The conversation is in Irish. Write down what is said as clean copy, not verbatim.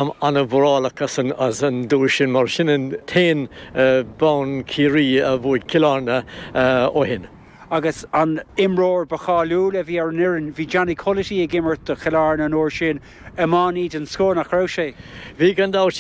Táim an-mhórálach as an duais sin mar sin an t-aon bonn Ciarraí a bhuaigh Cill Airne ó shin. Agus an imreoir ba cháiliúla a bhí ar an fhoireann, bhí Johnny Culloty ag imirt do Chill Airne an uair sin, iománaí den scoth, nach raibh sé? Bhí gan dabht.